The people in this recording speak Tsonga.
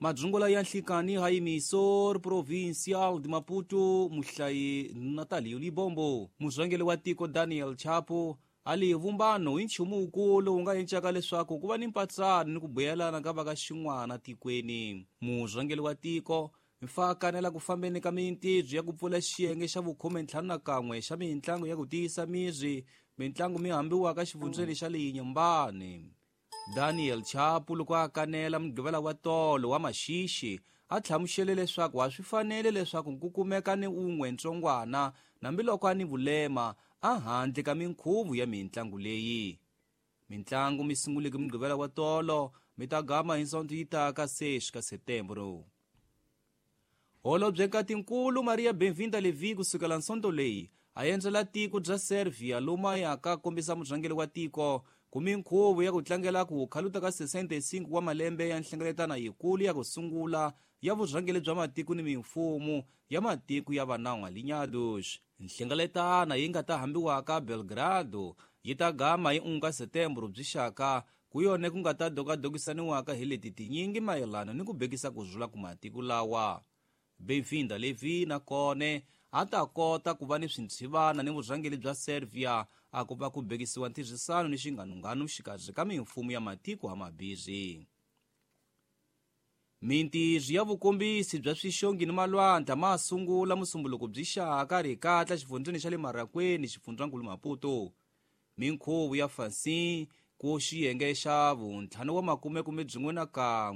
Madzungola ya nhlikani ha Emissor Provincial de Maputo, muhlayi Natalio Libombo. Murhangeri wa tiko Daniel Chapo a li vumbano i nchumu wukulu wu nga encaka leswaku ku va ni mpatsano ni ku buyelana ka va ka xin'wana tikweni. Murhangeri wa tiko mfa kanela ku fambeni ka mintirho ya ku pfula xiyenge xa vukhume-ntlhanu-na-kan'we xa mintlangu ya ku tiyisa miri, mintlangu mi hambiwaka xifundzeni xa le Inhambane. Daniel Chapo loko a kanela Mugqivela wa tolo wa Maxixi a hlamusele leswaku a swi fanele leswaku ku kumeka ni un'we ntsongwana hambiloko a ni vulema a handle ka minkhuvo ya mintlangu leyi. Mintlangu mi sunguleke Mugqivela wa tolo mi ta gama hi Sonto yi taka 6 ka Setembro. Holobye Nkatinkulu Maria Benvinda Levy kusukela Nsonto leyi a endzela tiko bya Servia lomu a yaka kombisa murhangeri wa tiko ku minkhuvo ya ku tlangela ku khaluta ka 65 wa malembe ya nhlengeletano yikulu ya ku sungula ya vurhangeri bya matiko ni mimfumo ya matiko ya vanawu alinyados. Nhlengeletano yi nga ta hambiwaka Belgrado yi ta gama hi 1 ka Setembro byi xaka ku yona ku nga ta dokadokisaniwaka hi leti tinyingi mayelana ni ku bekisa ku rhula ku matiko lawa. Benvinda Levy na kone a ta kota ku va ni swintshivana ni vurhangeri bya Servia a ku va ku bekisiwa ntirhisano ni xinganunganu xikarhi ka mimfumo ya matiko hamabirhi. Mintirho ya vukombisi bya swixongi ni malwandla ma sungula Musumbuluko byi xaka rikatla xifundzeni xa le Marakweni xifundzankulu Maputo. Minkhuvo ya Fansin ku xiyenge xa vuntlhanu wa makume kume byin'we na kan'we.